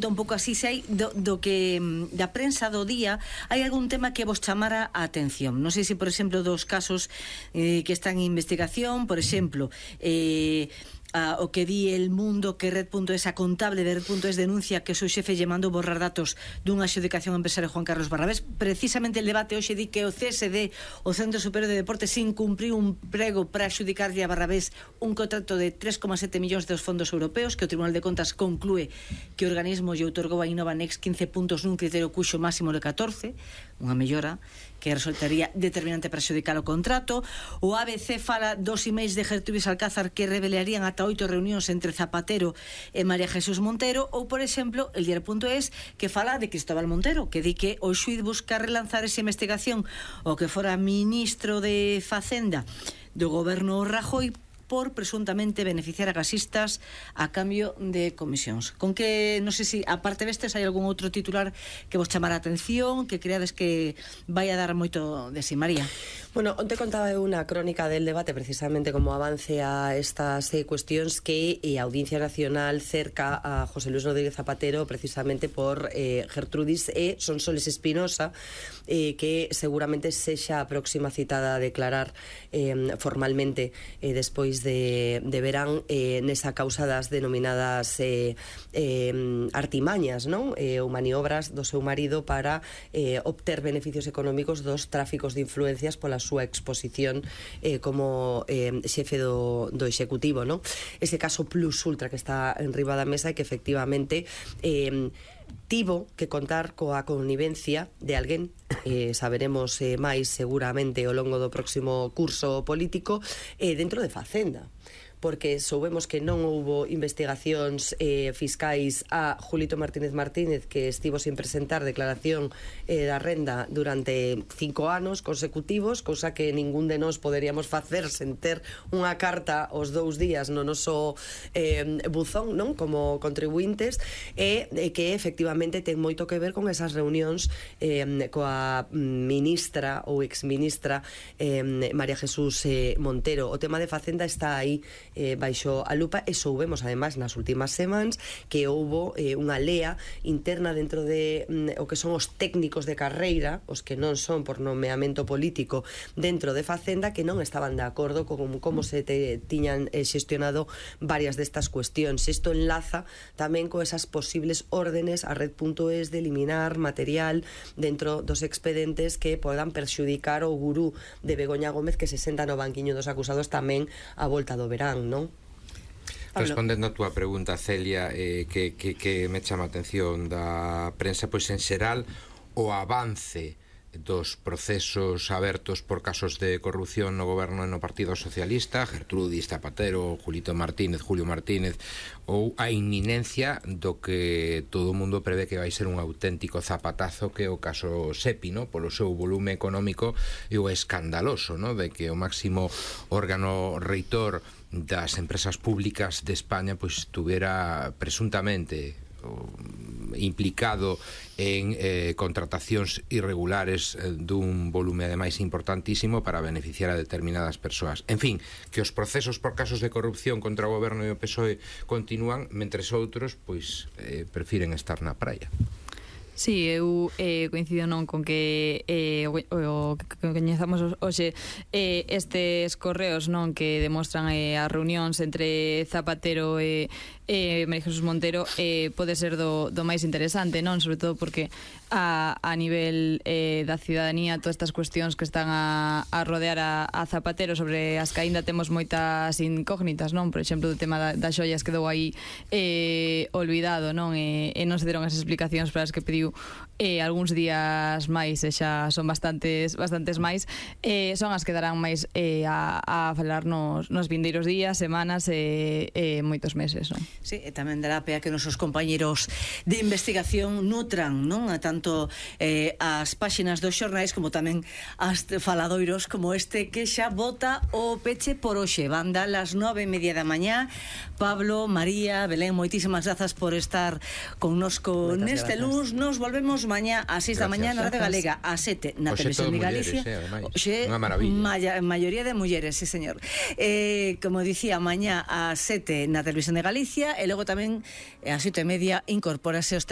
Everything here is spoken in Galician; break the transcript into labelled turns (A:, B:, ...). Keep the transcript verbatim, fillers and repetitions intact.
A: un pouco así se hai do, do que da prensa do día, hai algún tema que vos chamara a atención. Non sei se, por exemplo, dos casos eh, que están en investigación, por exemplo, eh, a, o que di El Mundo, que Red punto es, a contable de Red punto es denuncia que o seu xefe lle mandou borrar datos dunha adxudicación empresario Juan Carlos Barrabés. Precisamente el debate hoxe di que o C S D, o Centro Superior de Deportes, incumpriu un prego para adxudicarlle a Barrabés un contrato de tres coma sete millóns dos fondos europeos, que o Tribunal de Contas conclúe que o organismo lle outorgou a Innova Next quince puntos nun criterio cuxo máximo de catorce, unha mellora que resultaría determinante para adxudicar o contrato. O A B C fala dos emails de Gertrudis Alcázar que revelarían ata oito reunións entre Zapatero e María Jesús Montero. Ou, por exemplo, el diario punto es, que fala de Cristóbal Montero, que di que o xuíz busca relanzar esa investigación o que fora ministro de Facenda do goberno Rajoy por presuntamente beneficiar a gasistas a cambio de comisións. Con que, non sei se, aparte destes, hai algún outro titular que vos chamara a atención, que creades que vai a dar moito de si, María?
B: Bueno, onte contaba unha crónica del debate precisamente como avance a estas eh, cuestións que eh, a Audiencia Nacional cerca a José Luis Rodríguez Zapatero precisamente por eh, Gertrudis e Sonsoles Espinosa, eh, que seguramente sexa a próxima citada a declarar eh, formalmente eh, despois de, de verán eh, nesa causa das denominadas eh, eh, artimañas, non? Eh, ou maniobras do seu marido para eh, obter beneficios económicos dos tráficos de influencias pola súa exposición eh, como eh, xefe do, do executivo, non? Ese caso plus ultra que está en riba da mesa e que efectivamente eh, tivo que contar coa connivencia de alguén, eh, saberemos eh, máis seguramente ao longo do próximo curso político, eh, dentro de Facenda, porque soubemos que non houbo investigacións eh, fiscais a Julito Martínez Martínez, que estivo sin presentar declaración eh, da renda durante cinco anos consecutivos, cousa que ningún de nós poderíamos facer sen ter unha carta os dous días no noso eh, buzón, non? Como contribuintes, e eh, que efectivamente ten moito que ver con esas reunións eh, coa ministra ou exministra eh, María Jesús eh, Montero. O tema de Facenda está aí eh, baixo a lupa, e soubemos ademais nas últimas semanas que houbo eh, unha lea interna dentro de mm, o que son os técnicos de carreira, os que non son por nomeamento político dentro de Facenda, que non estaban de acordo con como se te, tiñan eh, xestionado varias destas cuestións. Isto enlaza tamén con esas posibles órdenes a Red punto es de eliminar material dentro dos expedientes que podan perxudicar o gurú de Begoña Gómez, que se senta no banquiño dos acusados tamén a volta do verán, non?
C: Respondendo a túa pregunta, Celia, eh, que, que, que me chama a atención da prensa, pois en xeral o avance dos procesos abertos por casos de corrupción no goberno e no Partido Socialista, Gertrudis, Zapatero, Julito Martínez, Julio Martínez, ou a inminencia do que todo o mundo prevé que vai ser un auténtico zapatazo, que é o caso Sepi, no? Polo seu volume económico e o escandaloso, no? De que o máximo órgano reitor das empresas públicas de España pois tuvera presuntamente implicado en eh, contratacións irregulares eh, dun volume ademais importantísimo para beneficiar a determinadas persoas. En fin, que os procesos por casos de corrupción contra o goberno e o P S O E continúan, mentres outros pois eh, prefiren estar na praia.
D: Sí, eu eh, coincido non con que eh, o, o que coñezamos hoxe eh, estes correos non que demostran eh, as reunións entre Zapatero e eh, María Jesús Montero eh, pode ser do, do máis interesante, non? Sobre todo porque a, a nivel eh, da ciudadanía todas estas cuestións que están a, a rodear a, a Zapatero, sobre as que aínda temos moitas incógnitas, non? Por exemplo, o tema da, das xoias quedou aí eh, olvidado, non? E, e non se deron as explicacións para as que pediu eh, algúns días máis, e xa son bastantes bastantes máis, eh, son as que darán máis eh, a, a falar nos, nos vindeiros días, semanas e eh, eh, moitos meses, non?
A: Sí, e tamén dará pea que nosos compañeros de investigación nutran, non? A tanto eh, as páxinas dos xornais como tamén as faladoiros como este que xa bota o peche por hoxe. Van dar las nove e media da mañá. Pablo, María, Belén, moitísimas grazas por estar connosco neste luns. Nos volvemos mañá a seis da mañá na Radio Galega, a sete na Televisión de Galicia. Oxe, unha maravilla. Maioría de mulleres, sí, señor. Eh, como dicía, mañá a sete na Televisión de Galicia, e logo tamén a sete e media incorpórase os